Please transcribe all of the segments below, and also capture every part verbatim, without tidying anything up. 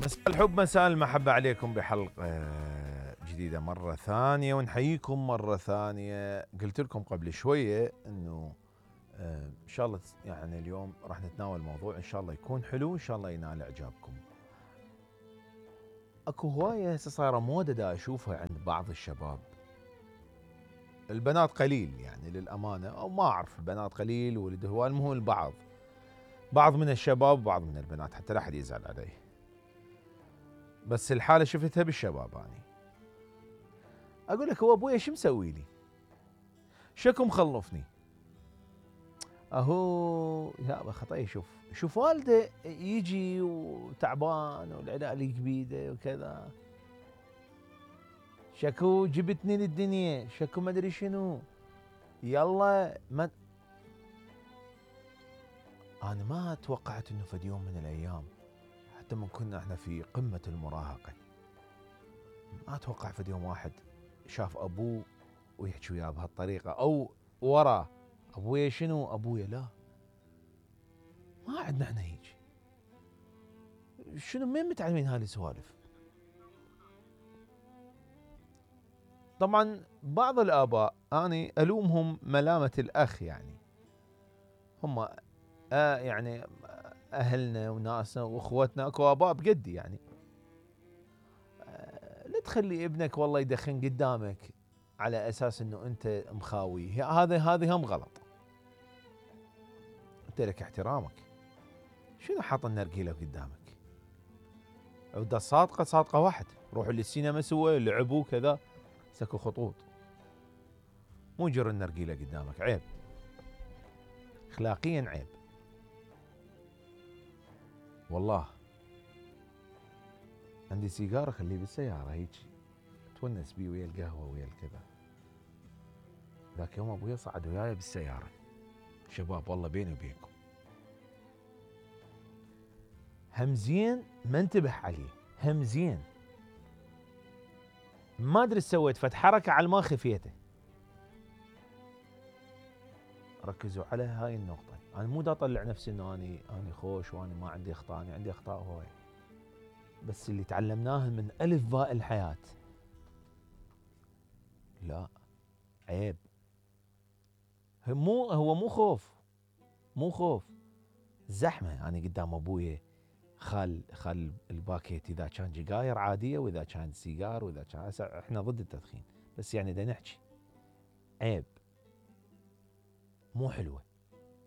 مساء الحب مساء المحبة عليكم بحلقة جديدة مرة ثانية، ونحييكم مرة ثانية. قلت لكم قبل شوية انه ان شاء الله يعني اليوم راح نتناول موضوع ان شاء الله يكون حلو، ان شاء الله ينال اعجابكم. اكو هواية هسه صايرة مودة دا اشوفها عند بعض الشباب، البنات قليل يعني للأمانة، او ما اعرف البنات قليل ولد هواي، المهم البعض بعض من الشباب وبعض من البنات، حتى لا احد يزعل علي، بس الحالة شفتها بالشباب. اني اقول لك هو ابويا شو مسوي لي؟ شكو مخلفني؟ اهو يا خطأي. شوف شوف والده يجي وتعبان والعلالي كبيده وكذا، شكو جبتني للدنيا، شكو ما ادري شنو، يلا ما انا ما توقعت انه في يوم من الايام، حتى من كنا احنا في قمة المراهقة، ما اتوقع في يوم واحد شاف ابوه ويحكي وياه بهالطريقة، او وراه ابويا شنو ابويا لا، ما عندنا احنا هيك. شنو مين متعلمين هاي السوالف؟ طبعا بعض الاباء اني الومهم ملامة الاخ، يعني هم آه يعني اهلنا وناسنا واخوتنا، اكو اباء بقدي يعني آه لا تخلي ابنك والله يدخن قدامك على اساس انه انت مخاوي، هذا هذه هم غلط. انت لك احترامك، شنو حاط النرجيله قدامك؟ عودة صادقه صادقه واحد، روحوا للسينما سوا، لعبوا كذا، سكوا خطوط، مو جر النرجيله قدامك، عيب اخلاقيا عيب والله. عندي سيجاره خليه بالسياره هيك تونس بيه ويا القهوه ويا الكذا. ذاك يوم ابويا صعد وياي بالسياره، شباب والله بيني وبينكم همزين ما انتبه عليه، همزين ما ادري سويت فت حركه على ما خفيته. ركزوا على هاي النقطه، انا مو دا اطلع نفسي انه اني اني خوش واني ما عندي اخطاء، اني عندي اخطاء هواي، بس اللي تعلمناه من الف باء الحياه لا عيب. مو هو مو خوف، مو خوف زحمه. انا قدام ابويا خال خال الباكيت اذا كان جيجاير عاديه، واذا كان سيجار، واذا كان احنا ضد التدخين، بس يعني دا نحكي عيب، مو حلوه.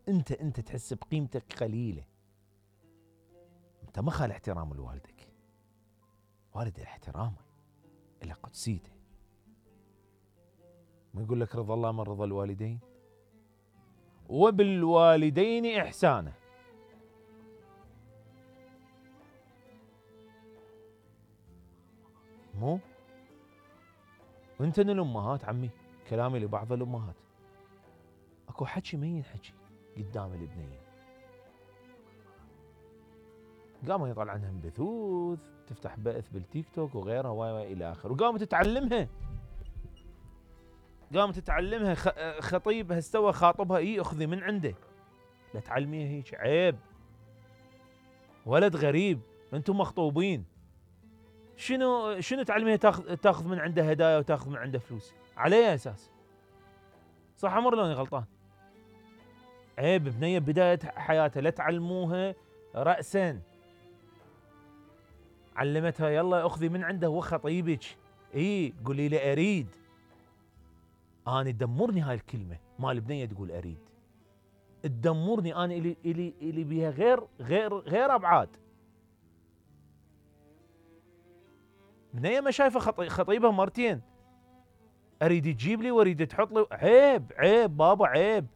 انت انت تحس بقيمتك قليله، انت ما خال احترام لوالدك، والد احترامه الى قدسيته. ما يقول لك رضا الله من رضا الوالدين، وبالوالدين احسانا. مو انتن الامهات عمي، كلامي لبعض الامهات، اكو حكي ما ينحكي قدام الابنين، قاموا يطلع عنهم بثوث، تفتح بث بالتيك توك وغيرها واي الى اخره، وقامت تتعلمها، قامت تتعلمها. خطيب هستوى خاطبها، اي اخذي من عنده، لا تعلميها هيك، عيب. ولد غريب، انتم مخطوبين، شنو شنو تعلميها تاخذ تاخذ من عنده هدايا وتاخذ من عنده فلوس على اي اساس؟ صح عمر لوني غلطان؟ عيب. بنيه بدايه حياتها لا تعلموها راسا، علمتها يلا اخذي من عنده، هو خطيبك، اي قولي له اريد. انا تدمرني هاي الكلمه مال البنيه تقول اريد، تدمرني انا، الي الي الي بيها غير غير غير ابعاد. بنيه ما شايفه خطيبها مرتين، اريد تجيب لي واريد تحط لي، عيب عيب بابا عيب.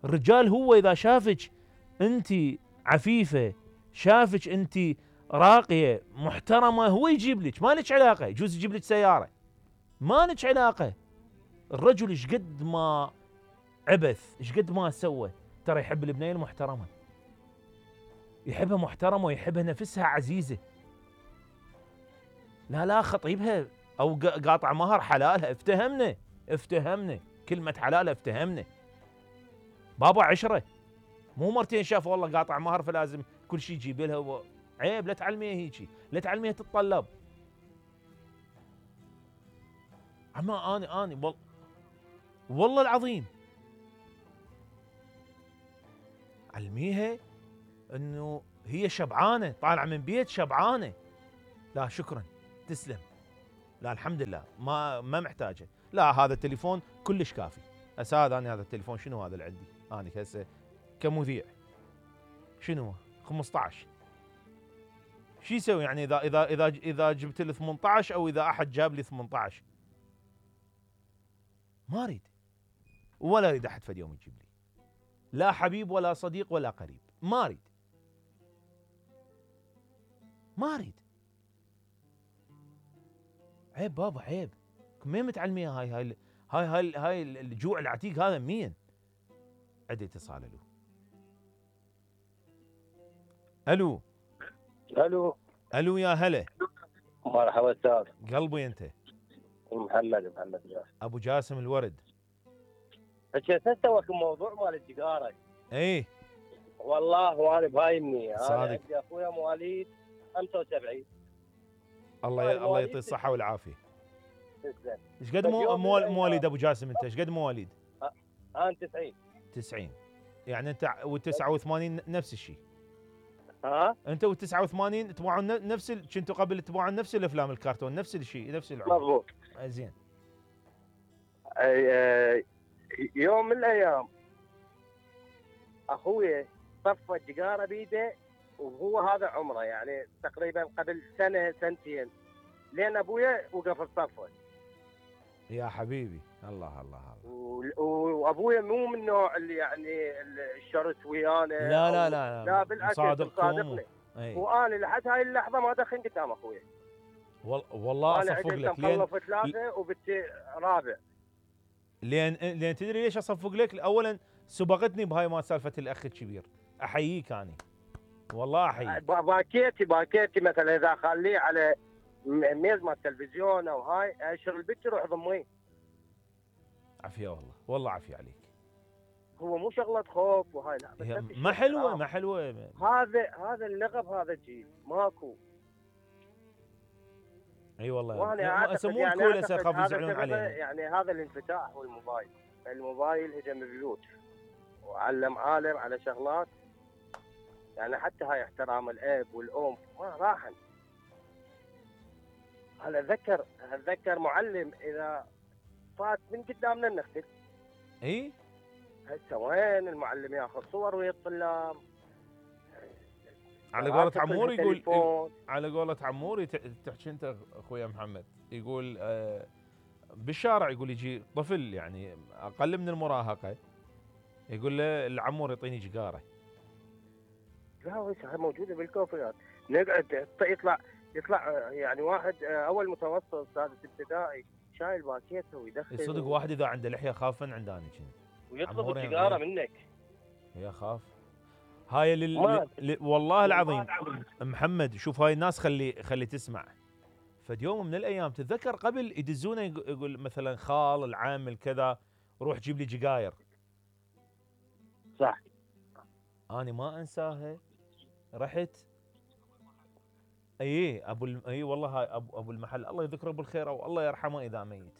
الرجال هو اذا شافك انت عفيفه، شافك انت راقيه محترمه، هو يجيب لك، ما لك علاقه. يجوز يجيب لك سياره، ما لك علاقه. الرجل ايش قد ما عبث، ايش قد ما سوى، ترى يحب البنيه المحترمه، يحبها محترمه ويحبها نفسها عزيزه. لا لا خطيبها او قاطع مهر حلالها، افتهمنا افتهمنا كلمه حلالها، افتهمنا بابا عشره، مو مرتين شاف والله قاطع مهر فلازم كل شيء يجيب لها و... عيب لا تعلميها هيجي، لا تعلميها تتطلب. اما اني اني والله والله العظيم علميها انه هي شبعانه، طالعه من بيت شبعانه. لا شكرا تسلم، لا الحمد لله ما ما محتاجه، لا هذا التليفون كلش كافي. هسه هذا انا هذا التليفون شنو هذا اللي عندي؟ انا هسه كمذيع شنو خمسطعش شو يسوي يعني اذا اذا اذا اذا جبت لي ثمنطعش او اذا احد جاب لي ثمنطعش؟ ما اريد ولا اريد احد فد يوم يجيب لي، لا حبيب ولا صديق ولا قريب، ما اريد ما اريد. عيب بابا عيب، مين متعلميها هاي هاي هاي هاي, هاي الجوع العتيق هذا مين؟ عندي اتصال. الو الو الو الو يا هلا. مرحبا استاذ. قلبي انت؟ محمد محمد جاسم. ابو جاسم الورد. حكيت توك الموضوع مال التجاره. ايه والله وانا بهايمني، انا صادق. عندي اخويا مواليد خمسة وسبعين. الله ي... الله يعطيه الصحه والعافيه. تسلم. ايش قد مو... مو... مواليد ابو جاسم انت؟ ايش قد مواليد؟ انا تسعين. تسعين يعني انت وتسعة وثمانين نفس الشيء. ها انت وتسعة وثمانين تبعون نفس ال... كنتوا قبل تبعون نفس الافلام الكرتون نفس الشيء نفس العمر. مضبوط. زين. يوم من الايام اخويا طفى التجاره بيده، وهو هذا عمره يعني تقريبا قبل سنه سنتين، لين ابويا وقف الطفه. يا حبيبي الله الله الله. وابويا مو من النوع اللي يعني الشرط ويانا، لا لا لا لا بالعكس مصادقني. وانا لحد هاي اللحظه ما دخن قدام اخويا. والله اصفق لك لين مخلف ثلاثه وبنتي رابع. لين لين تدري ليش اصفق لك؟ اولا سبقتني بهاي ما سالفه الاخ الكبير، احييك اني والله احييك. باكيتي باكيتي مثلا اذا خليه على ميز مال التلفزيون او هاي اشر البت روح ضميه. عافيه والله والله عافيه عليك. هو مو شغله خوف وهاي، لا بس ما حلوه ما حلوه. هذا هذا اللغب هذا الجيل ماكو. اي والله وانا يسمون يعني كول هسه خاف يزعلون علينا. يعني هذا الانفتاح والموبايل، الموبايل هجم البيوت وعلم عالم على شغلات، يعني حتى هاي احترام الاب والام ما راحن. هلا اتذكر اتذكر معلم اذا فات من قدامنا نختل. اي هسه وين المعلم ياخذ صور ويا الطلاب؟ على قولة عمور يقول، على قولة عمور تحكي انت اخويا محمد، يقول آه بالشارع يقول يجي طفل يعني اقل من المراهقه، يقول له العمور يعطيني جقاره. لا هسه موجوده بالكوفيات، نقعد يطلع يطلع يعني واحد اول متوسط سادس ابتدائي شايل باكيته ويدخل. صدق واحد اذا عنده لحيه خافا عنداني كنت ويطلب السيجاره منك. يا خاف هاي لل... ل... والله العظيم محمد. شوف هاي الناس خلي خلي تسمع. فد يوم من الايام تتذكر قبل يدزونه يقول مثلا خال العام الكذا روح جيب لي جقاير. صح. انا ما انساها. رحت اي ابو الم... اي والله هاي ابو ابو المحل الله يذكره بالخير او الله يرحمه اذا ميت.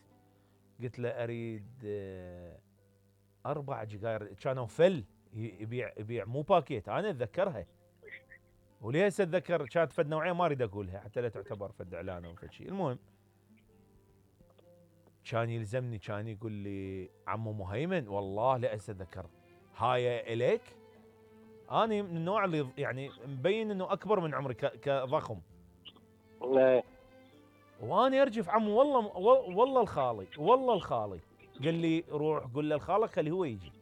قلت له اريد اربع جقاير كانوا فل يبيع يبيع مو باكيت. انا اتذكرها وليس اتذكر كانت فد نوعيه ما اريد اقولها حتى لا تعتبر فد اعلان او فد شيء. المهم كان يلزمني كان يقول لي عمو مهيمن والله لا اتذكر هاي اليك. انا من النوع اللي يعني مبين انه اكبر من عمري كضخم. لا وانا ارجف عمو والله والله الخالي والله الخالي قال لي روح قول له لخالك خليه هو يجي.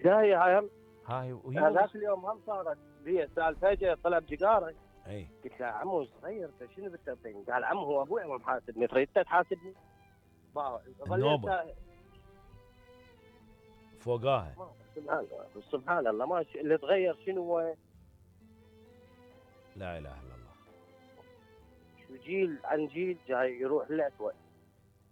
جاي هاي هاي هذاك اليوم هم صارت بي سالفه طلب جقاره. اي قلت له عمو صغير انت شنو بتعطيني؟ قال عمو هو ابوي ما محاسبني تريد تحاسبني؟ النوبه فوقاها. سبحان الله سبحان الله ما ش... اللي تغير شنو هو؟ لا اله الا الله. شو جيل عن جيل جاي يروح للأسوأ.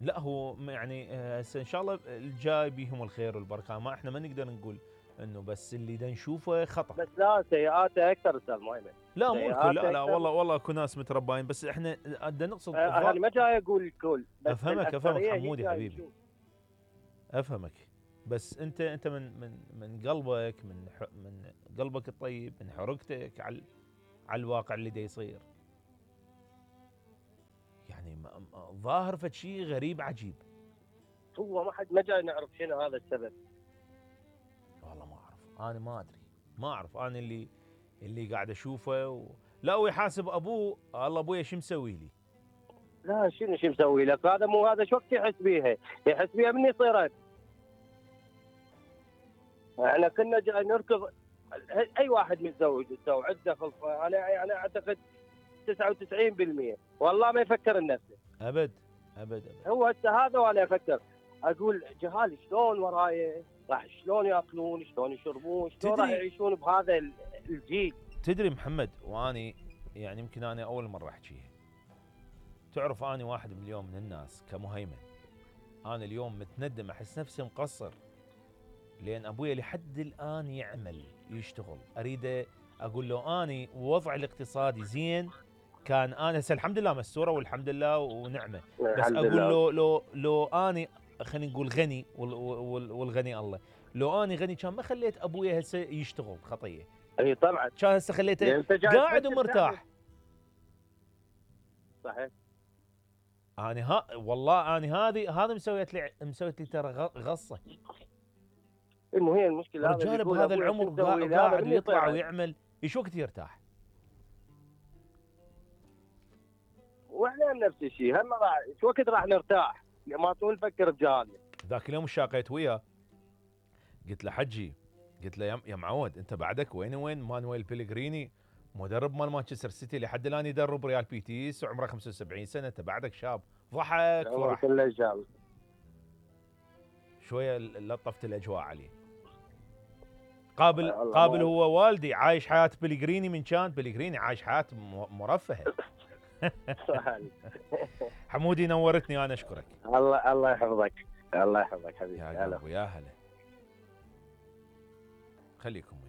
لا هو يعني هسه ان شاء الله الجاي بيهم الخير والبركه. ما احنا ما نقدر نقول انه بس اللي دا نشوفه خطا. بس لا سيئاته اكثر استاذ مؤيمن. لا مو الكل، لا لا سيئاته والله والله اكو ناس مترباين، بس احنا بدنا نقصد آه، انا ما جاي اقول الكل، بس افهمك افهمك الأكثرية هي حمودي جاي حبيبي، تشوف. افهمك. بس انت انت من من من قلبك، من ح- من قلبك الطيب، من حرقتك على على الواقع اللي دا يصير، يعني ما- ما- ظاهر فد شيء غريب عجيب. هو ما حد ما جاي نعرف شنو هذا السبب. والله ما اعرف، انا ما ادري، ما اعرف. انا اللي اللي قاعد اشوفه و... لا ويحاسب ابوه، الله ابويا شو مسوي لي؟ لا شنو شو مسوي لك؟ هذا مو هذا شو وقت يحس بيها؟ يحس بيها مني صيرت. احنا كنا جاي نركض، اي واحد متزوج متزوج عنده خلفه، انا انا اعتقد تسعة وتسعين بالمئة والله ما يفكر لنفسه. ابد ابد ابد. هو هسه هذا وانا افكر، اقول جهال شلون وراي، راح شلون ياكلون، شلون يشربون، شلون راح تدري- يعيشون بهذا ال- الجيل. تدري محمد، واني يعني يمكن انا اول مره احكيها، تعرف اني واحد من اليوم من الناس كمهيمن، انا اليوم متندم، احس نفسي مقصر، لان ابويا لحد الان يعمل يشتغل، اريده اقول له اني وضعي الاقتصادي زين، كان انا هسه الحمد لله مستوره والحمد لله ونعمه، بس الحمد اقول لله. له لو لو اني خلينا نقول غني وال- وال- والغني الله، لو اني غني كان ما خليت ابويا هسه يشتغل خطيه، اي طبعا كان هسه خليته لأن أنت جاي قاعد تفكر ومرتاح. صحيح. انا ها والله انا هذه هذا مسويت لي مسويت لي ترى غ- غصه. المهم هي المشكله هذا رجال اللي يقول بهذا أبوي العمر شو تسوي قاعد لي؟ هذا قاعد مني ويطلع صيرت. ويعمل، ايش وقت يرتاح؟ واحنا نفس الشيء، هم راح شو وقت راح نرتاح؟ ما طول نفكر بجهالنا. ذاك اليوم شاقيت وياه، قلت له حجي، قلت له يا- يا معود انت بعدك وين وين مانويل بيلغريني مدرب مال مانشستر سيتي لحد الان يدرب ريال بيتيس وعمره خمسة وسبعين سنه، انت بعدك شاب. ضحك عمر فرح كله جاب. شويه، لطفت الاجواء عليه. قابل الله قابل ما- هو والدي عايش حياه بيلغريني، من كان بيلغريني عايش حياه م- مرفهه. حمودي نورتني، انا اشكرك. الله الله يحفظك، الله يحفظك حبيبي. يا هلا. قلبي يا هلا، خليكم وياي.